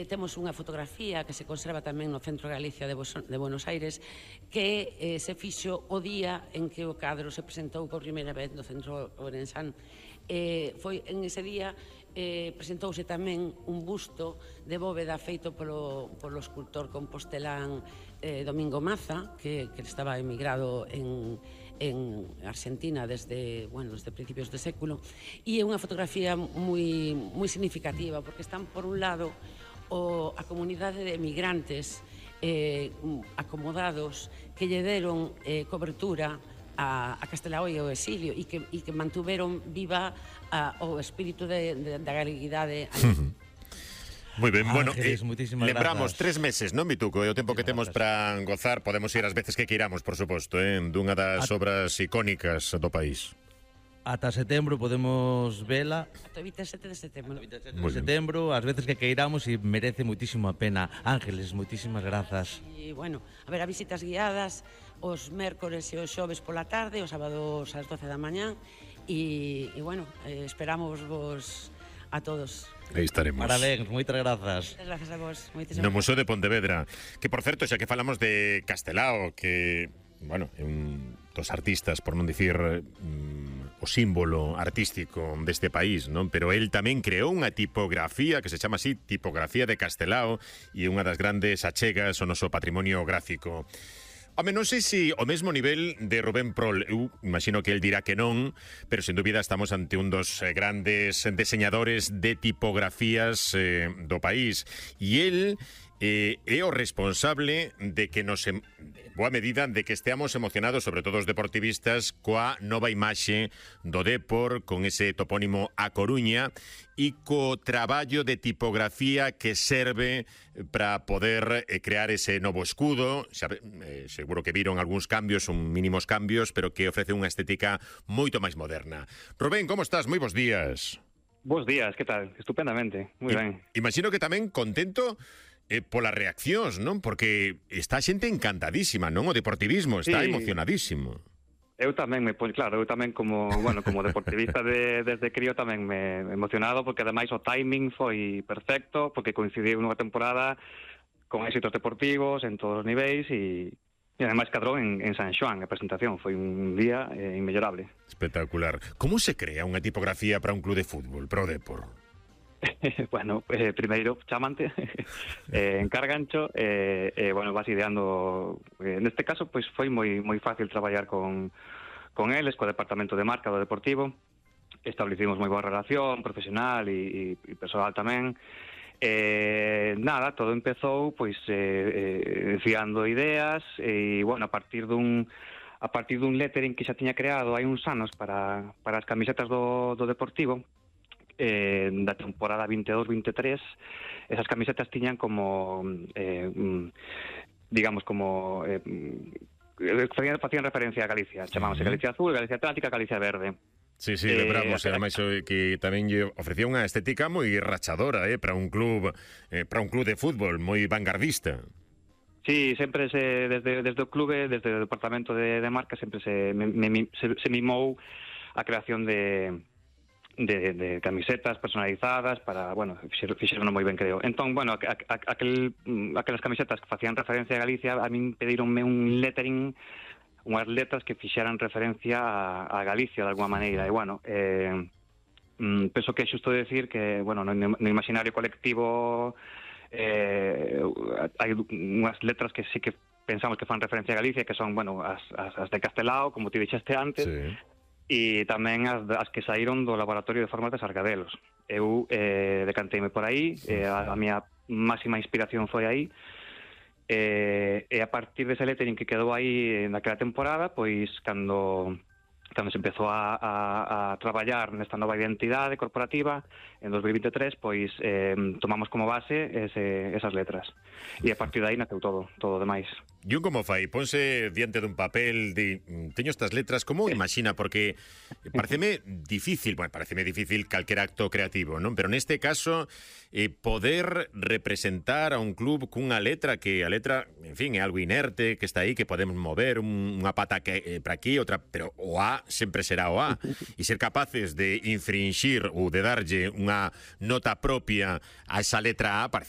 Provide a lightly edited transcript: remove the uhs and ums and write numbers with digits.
temos unha fotografía que se conserva tamén no Centro de Galicia de Buenos Aires, que se fixo o día en que o cadro se presentou por primeira vez no Centro Ourensán. Foi en ese día presentouse tamén un busto de bóveda feito polo escultor compostelán Domingo Maza, que estaba emigrado en Argentina desde principios de século, e é unha fotografía moi significativa, porque están, por un lado, a comunidade de emigrantes acomodados que lle deron cobertura a Castelao e ao exilio e que mantuveron viva o espírito da galeguidade. Moi ben, bueno, Ángeles, lembramos grazas. 3 meses, non, Mituco? É o tempo que temos para gozar. Podemos ir as veces que queiramos, por suposto, dunha das obras icónicas do país. Ata setembro podemos vela. Ata o 27 de setembro. De setembro, as veces que queiramos, e merece muitísimo a pena. Ángeles, muitísimas grazas. E, bueno, haberá visitas guiadas os mércores e os xoves pola tarde, os sábados ás 12 da mañán, e bueno, esperamos vos a todos. Aí estaremos. Parabéns, moitas grazas. Gracias a vos. No Museo de Pontevedra. Que, por certo, xa que falamos de Castelao, que, bueno, é un dos artistas, por non dicir o símbolo artístico deste país, non? Pero el tamén creou unha tipografía que se chama así, Tipografía de Castelao, e unha das grandes achegas ao noso patrimonio gráfico. Home, non sei se o mesmo nivel de Rubén Prol, eu imagino que el dirá que non, pero sen dúbida estamos ante un dos grandes deseñadores de tipografías do país, e el é o responsable de que nos, boa medida, de que esteamos emocionados, sobre todo os deportivistas, coa nova imaxe do Depor, con ese topónimo A Coruña, e co traballo de tipografía que serve para poder crear ese novo escudo. Seguro que viron algúns cambios, son mínimos cambios, pero que ofrece unha estética moito máis moderna. Rubén, como estás? Moi bons días. Bos días, que tal? Estupendamente, moi ben. Imagino que tamén contento polas reaccións, non? Porque está a xente encantadísima, non? O deportivismo está emocionadísimo. Eu tamén eu tamén como deportivista desde crío tamén me emocionado, porque ademais o timing foi perfecto, porque coincidiu nunha temporada con éxitos deportivos en todos os niveis e ademais cadrou en San Xoán a presentación, foi un día inmellorable. Espectacular. Como se crea unha tipografía para un club de fútbol, para o Depor? Bueno, primeiro chamante, encárgancho, vas ideando. Neste caso, pois foi moi fácil traballar con eles, co departamento de marca do Deportivo. Establecimos moi boa relación profesional e persoal tamén. Todo empezou pois enfiando ideas e, bueno, a partir dun lettering que xa tiña creado hai uns anos para as camisetas do Deportivo, da temporada 22-23, esas camisetas tiñan como facían referencia a Galicia, chamábase Galicia Azul, Galicia Atlántica, Galicia Verde. Sí, lembramos, ademais que tamén lle ofrecía unha estética moi rachadora, para un club de fútbol moi vanguardista. Sí, sempre desde o clube, desde o departamento de marca, sempre se mimou a creación de camisetas personalizadas para, bueno, fixeron moi ben, creo. Entón, bueno, aquelas camisetas que facían referencia a Galicia, a min pedironme un lettering, unhas letras que fixeran referencia a Galicia de alguma maneira, e, bueno, penso que é xusto decir que, bueno, no imaginario colectivo hai unhas letras que sí que pensamos que fan referencia a Galicia, que son, bueno, as de Castelao, como ti dixeste antes, sí. E tamén as que saíron do laboratorio de formas de Sargadelos. Eu decanteime por aí, a miña máxima inspiración foi aí, e a partir dese lettering que quedou aí naquela temporada, pois cando se empezou a traballar nesta nova identidade corporativa en 2023, pois tomamos como base esas letras, e a partir de aí naceu todo o demais. E un como fai? Ponse diante dun papel teño estas letras, como imagina? Porque pareceme difícil calquer acto creativo, non? Pero neste caso poder representar a un club cunha letra que a letra, en fin, é algo inerte, que está aí, que podemos mover unha pata para aquí, outra, pero o A sempre será o A, e ser capaces de infringir ou de darlle unha nota propia a esa letra A,